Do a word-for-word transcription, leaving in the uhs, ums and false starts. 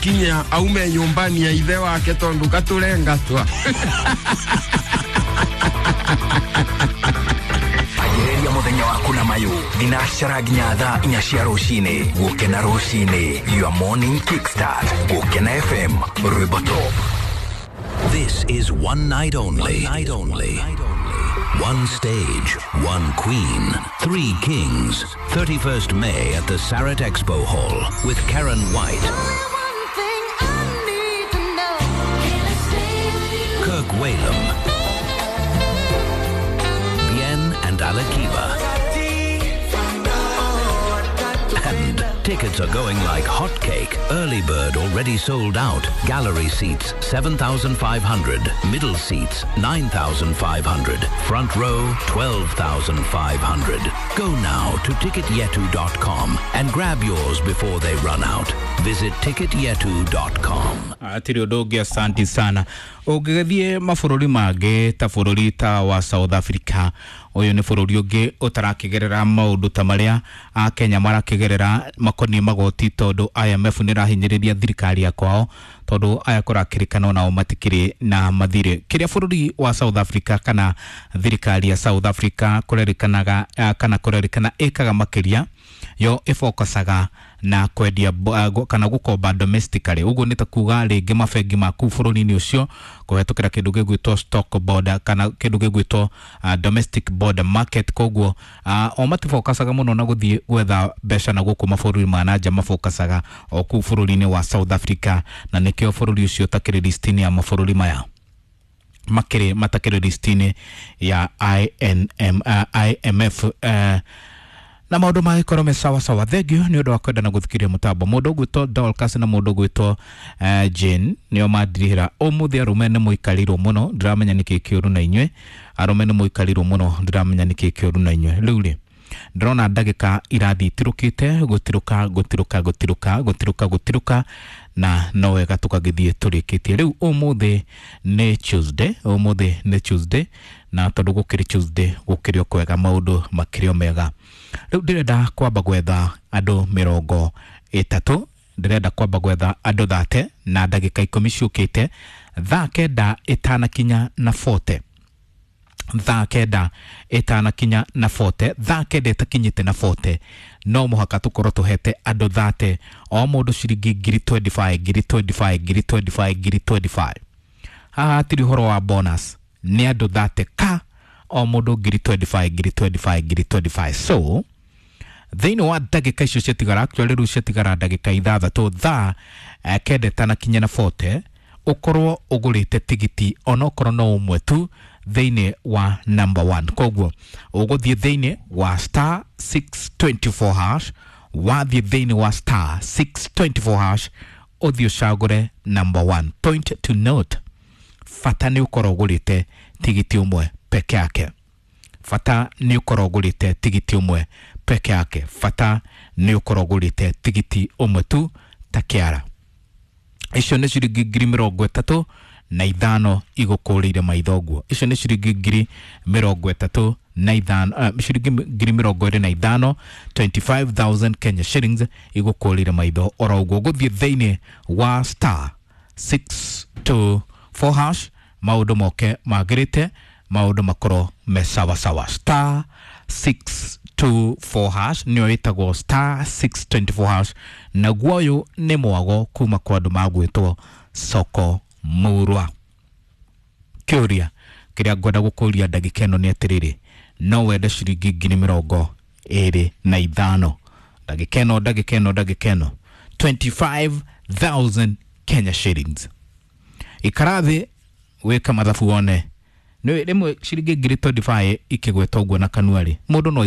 Kinya aume nyumbani ya ithe wake tondu katurengatwa. Anjĩrĩria mũthenya waku na mayũ thinacara nginya thaa inya cia rũcinĩ. Gũkena rũcinĩ, your morning kickstart. Gũkena F M, rwĩmbo top. This is one night only. One night only. One stage, one queen, three kings. thirty-first May at the Sarit Expo Hall with Karen White, Kirk Whalum, Bien and Alikiba. And tickets are going like hotcake. Early bird already sold out. Gallery seats seven thousand five hundred. Middle seats nine thousand five hundred. Front row twelve thousand five hundred. Go now to ticketyetu dot com and grab yours before they run out. Visit ticketyetu dot com. Atirĩ ũndũ ũngĩ, asanti sana. Ũngĩgĩthiĩ mabũrũri mangĩ ta bũrũri ta wa South Africa, ũyũ nĩ bũrũri ũngĩ ũtarakĩgerera maũndũ ta marĩa a Kenya marakĩgerera makoniĩ magoti, tondũ I M F nĩ ĩrahinyĩrĩria thirikari ya kwao, tondũ aya kũrakĩrĩkana nao matikĩrĩ na mathirĩ. Kĩrĩa bũrũri wa South Africa kana thirikari ya South Africa kũrerĩkanaga eh, kana kũrerĩkana ĩkaga makĩria, yo ĩfokasaga na kwendia bo- ah, gu- kana gũkomba domestically. Ũguo nĩ ta kuga rĩngĩ mabengi ma kũu bũrũri-inĩ ũcio kũhetũkĩra kĩndũ gĩgwĩtwo stock border kana kĩndũ gĩgwĩtwo uh, domestic border market. Koguo uh, o matifokasaga mũno na gũthiĩ gwetha mbeca na gũkũ mabũrũri ma na nja, mafokasaga o kũu bũrũri-inĩ wa South Africa, na nĩkĩo bũrũri ũcio ũtakĩrĩ list-inĩ ya mabũrũri maya makĩrĩ matakĩrĩ list-inĩ ya I N M, uh, I M F, uh, na maũndũ magĩkorwo me sawa sawa. Thengiũ nĩ ũndũ wa kwenda na gũthikĩrĩria mũtambo. Mũndũ ũgwĩtwo Dorcas na mũndũ ũgwĩtwo uh, Jane nĩo mandirihĩra ũmũthĩ. Arũme nĩ mũikarĩirwo mũno, ndiramenya nĩkĩ kĩũru na inyuĩ. Arũme nĩ mũikarĩirwo mũno, ndiramenya nĩkĩ kĩũru na inyuĩ. Rĩu rĩ, ndĩrona ndagĩka irathiĩ itirũkĩte gũtirũka gũtirũka gũtirũka gũtirũka gũtirũka, na no wega tũkagĩthiĩ tũrĩkĩtie. Rĩu ũmũthĩ nĩ Tuesday, ũmũthĩ nĩ Tuesday, na tondũ gũkĩrĩ Tuesday gũkĩrĩ o kwega, maũndũ makĩrĩ o mega. Rĩu ndĩrenda kwamba gwetha andũ mĩrongo ĩtatũ, ndĩrenda kwamba gwetha andũ thate na ndagĩka ikũmi ciũkĩte, thaa kenda ĩtanakinya na forty, thaa kenda ĩtanakinya na forty, thaa kenda ĩtakinyĩte na forty, no mũhaka tũkorwo tũhete andũ thate, o mũndũ ciringi ngiri mĩrongo ĩrĩ na ithano, ngiri mĩrongo ĩrĩ na ithano, ngiri mĩrongo ĩrĩ na ithano, ngiri mĩrongo ĩrĩ na ithano. Haha hatirĩ ũhoro wa bonus, nĩ andũ thate ka o mũndũ ngiri mĩrongo ĩrĩ na ithano, ngiri mĩrongo ĩrĩ na ithano, ngiri mĩrongo ĩrĩ na ithano. So thĩinĩ wa ndagĩka icio ciatigara, actually rĩu ciatigara ndagĩka ithathatũ, thaa eh, kenda ĩtanakinya na forty, ũkorwo ũgũrĩte tigiti onokorwo no ũmwe tu thĩinĩ wa number one. Koguo ũgũthiĩ thĩinĩ wa star six two four hash, wathiĩ thĩinĩ wa star six two four hash, ũthiĩ ũcagũre number one. Point to note, bata nĩ ũkorwo ũgũrĩte tigiti ũmwe peke yake. Bata nĩ ũkorwo ũgũrĩte tigiti ũmwe peke yake. Bata nĩ ũkorwo ũgũrĩte tigiti ũmwe tu ta kĩara. Icio nĩ ciringi ngiri mĩrongo ĩtatũ na ithano igũkũrĩire maitho ũguo. Icio nĩ ciringi ngiri mĩrongo ĩtatũ na ithano, uh, ciringi ngiri mĩrongo ĩrĩ na ithano, twenty-five thousand Kenya shillings igũkũrĩire maitho oro ũguo. Gũthiĩ thĩinĩ wa star six two four hash, maũndũ moke magĩrĩte, maũndũ makorwo me sawa sawa. Star six two four hash nĩyo ĩtagwo star six two four hash. Naguo ũyũ nĩ mwago kuma kwa andũ magwĩtwo Soko Murwa. Kĩũria kĩrĩa ngwenda gũkũria ndagĩka ĩno nĩ atĩrĩrĩ, no wende ciringi ngiri mĩrongo ĩrĩ na ithano ndagĩka ĩno, ndagĩka ĩno, ndagĩka ĩno, twenty-five thousand Kenya shillings? Ikara thĩ wĩke mathabu wone nĩ rĩmwe ciringi ngiri mĩrongo ĩrĩ na ithano ikĩgweta ũguo na kanua rĩ, mũndũ no